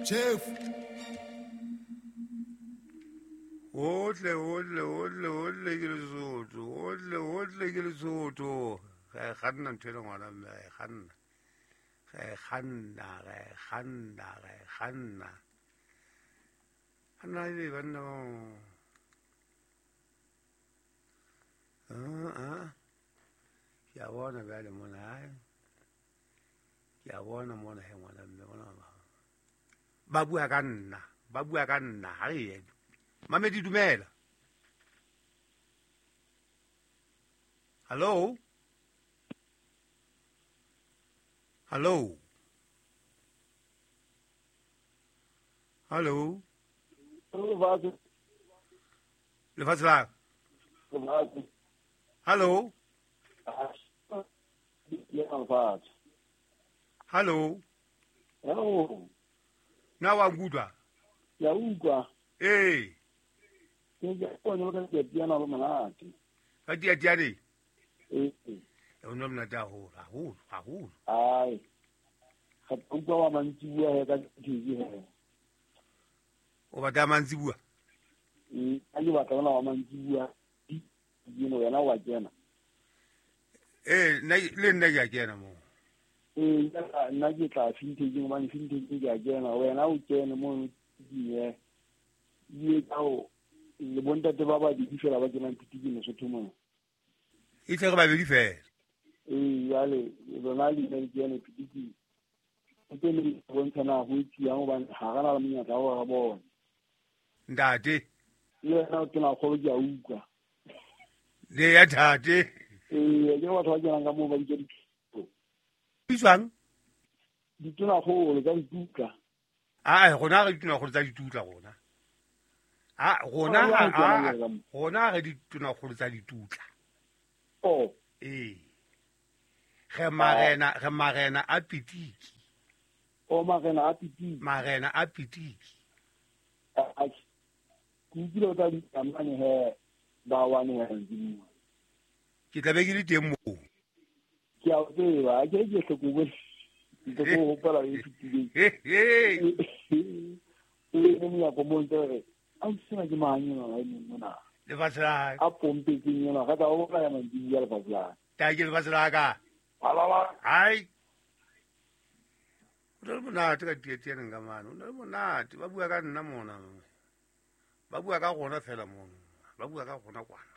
Chef. Otle, otle, otle, otle ke Lesotho. Otle, otle ke Lesotho. Ga e kganna ntho ele ngwana mme, ga e kganna. Ga e kganna, ga e kganna, ga e kganna. Anna ebe banna ba. Ah, ah. Ke a bona bjale mona, ai. Ke a bona mona he ngwana mme bona ba. Ba bua ka nna, ba bua ka nna, ha re ye. Mamedi dumela. Hello? Hello? Hello? Lefatshe. Lefatshe la. Lefatshe. Hello? Lefatshe. Hello? Hello. Na wa nkutlwa? Ke a utlwa. Ee. Ke ke bona ka tiatiana le monate. Ka tiatiane? Ee. O ne monate haholo, haholo, haholo. Ai. Ga ke utlwa wa mantsibuwa he ka tv he. O batla mantsibuwa? Ee, a ke batla ona wa mantsibuwa. Dino wena wa kena. Ee, nna le nna ke a kena moo. Ee, nna ke tla fintecheng hobane fintecheng ke a kena. Wena o kene mono ye. Ye ka o le bontate ba babedi fela ba kenang Pitikeng Lesotho mona. E tle re babedi fela. Ee, jwale lona le ina le kene Pitikeng. O tlo le bontsha na ho etsuwang hobane ha re na le monyetla wa hore re bone. Ntate. Le wena o tena kgolo ke a utlwa. Le ya ntate. Ee, ke batho ba kenang ka moo ba bitsa dithuto. Bitswang? Ditonakgolo tsa ditutla. Aa, rona re ditonakgolo tsa ditutla rona. A rona Ah, ha ke a mo. rona re ditonakgolo tsa ditutla. Oh. Ee. Re marena, re marena a Pitiki. Oh, marena a Pitiki. Marena a Pitiki. A ke utlwile o tla bitsa mane he ba wane he mantsibuya. Ke tla be ke le teng moo. Ke a o tseba, a ke ke hle ko bone. Ntse ko hopola e fetileng. O eme monyako moo ntse re, a o sena ke mang enwa wa emeng mona? Lefatshe la A pompetseng enwa, ka tla o bolaya mantsibuya lefatshe la. Ta ke lefatshe la ka. Alala. Ai. O na le monate ka tietianeng ka mane, o na le monate. Ba bua ka nna mona. Ba bua ka rona fela mono. Ba bua ka rona kwana.